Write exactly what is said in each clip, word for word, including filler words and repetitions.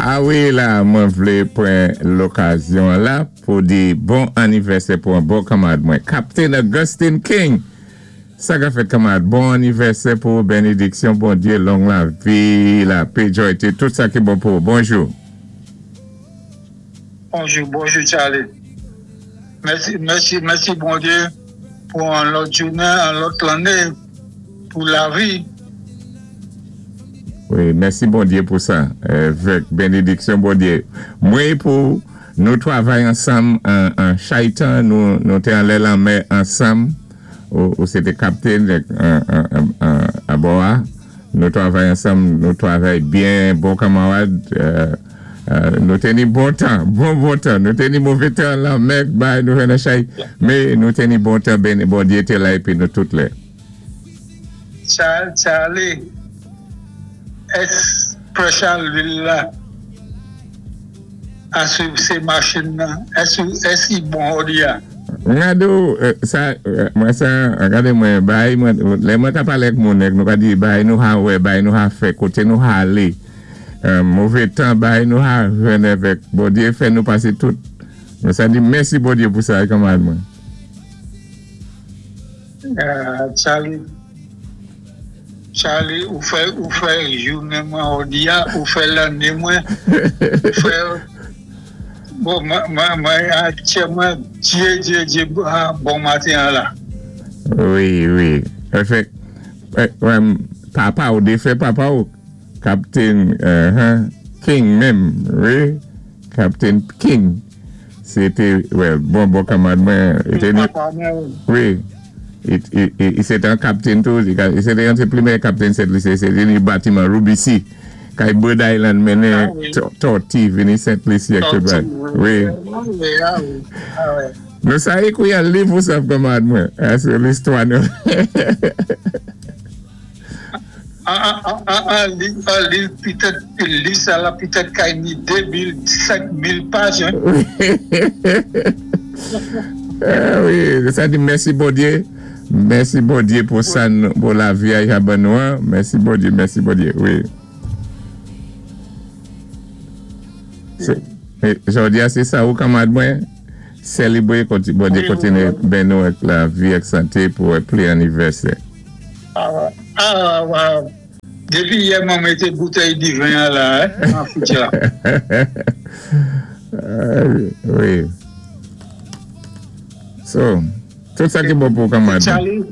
A wi, la, mwen vlé pwan lokazyon la pou di bon anivèsè pou an bon kanmad mwen. Captain Augustine King. Sa ka fèt, kanmad, bon anivèsè pou benediksyon, Bondyé, long lavi, lapè, joyté, tout sa ki bon pou. Bonjou. Bonjou, bonjou Charlie. Mèsi, mèsi, mèsi Bondyé pou an lòt jounen, an lòt lanné, pou lavi. Wi, mèsi Bondyé pou sa. Vèk benediksyon Bondyé. Mwen pou nou twavay ansanm an chaytan, nou té anlè lanmè ansanm, ou sé té kaptenn abò a. Nou twavay ansanm, nou twavay byen, bon kanmarad. Nou té ni bon tan, bon bon tan. Nou té ni mové tan lanmè, bay nou vè nan chay. Mé nou té ni bon tan, Bondyé té la épi nou tout lè. Charlie, ès pressure lwil la asou sé machin nan, ès i bon jòdi a? Ngado, sa, mwen sa, gade mwen, bay, mwen, lè mwen ka palé ak moun ek, nou ka di, bay nou ha wè, bay nou ha fè, koté nou ha alé, mové tan, bay nou ha jwenn avèk, Bondyé fè nou pasé tout. Mwen sa di, mèsi Bondyé pou sa, kanmad mwen. Charlie, Charlie, ou fè, ou fè jounen mwen jòdi a, ou fè lanné mwen, ou fè, bon, mwen, mwen, aktyèlman, Dye, Dye, Dye, bon maten an la. Wi, wi. Efèk, papa ou, défen papa ou, Captain King menm, wi, Captain King, sé té, well, bon, bon kanmad mwen, wi, i sé té an kaptenn tou, i sé té an sé pwémyé kaptenn Sent Lisi, sé té ni batiman Ruby C, kay Bird Island mennen tòti vini Sent Lisi ak tout bay. Wi. Nou sa ékwi an liv ou sa kanmad mwen, sou listwa nou. An liv pitèt, liv sa la pitèt kay ni de mil, senk mil paj. Wi, sa di mèsi Bondyé, mèsi Bondyé pou sa, pou lavi a ja ban nou an, mèsi Bondyé, mèsi Bondyé, wi. Jòdi a sé sa ou kanmad mwen, sélébwé Bondyé kontiné ben nou ak lavi ak santé pou pli anivèsè. Ah, ah, dépi yè mwen mété boutèy diven an la, an fritj la. Wi. So, tout sa ki bon pou kanmad. Charlie,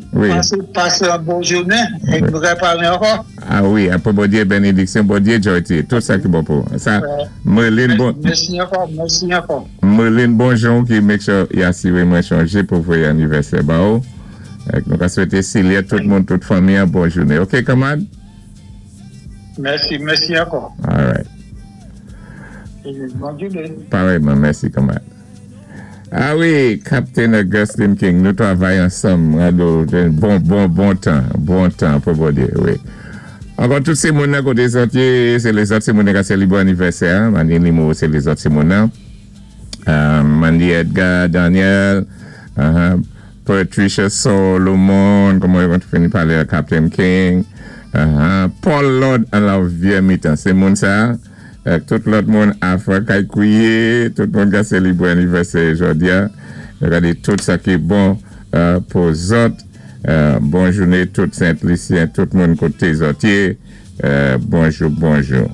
pasé an bon jounen, é nou ka palé ankò. A wi, apwé Bondyé, benediksyon Bondyé, joyté, tout sa ki bon pou. Sa, Merlin bon. Mèsi ankò, mèsi ankò. Merlin bonjou ki make sure y asiré mwen chonjé pou voyé anivèsè ba ou. Nou ka swété Silye, tout moun, tout fanmi an bon jounen. Ok, kanmad? Mèsi, mèsi ankò. All right. Bon jounen. Parèyman, mèsi kanmad. A wi, Captain Augustine King, nou twavay ansanm, bon, bon, bon tan, bon tan pou Bondyé, wi. Ankò tout sé moun nan koté zòt yé, sé lézòt sé moun nan ka sélébwé anivèsè, Mandy Limo, sé lézòt sé moun nan. Mandy Edgar, Daniel, Patricia Solomon, kòman yo fini palé a Captain King, Paul Lord an la vyé mitan, sé moun sa, tout lòt moun Afra kay kouye, tout moun ka sélébwé anivèsè jòdi a, gade tout sa ki bon pou zòt, bon jounen tout Sent Lisyen, tout moun koté zòt yé, bonjou, bonjou.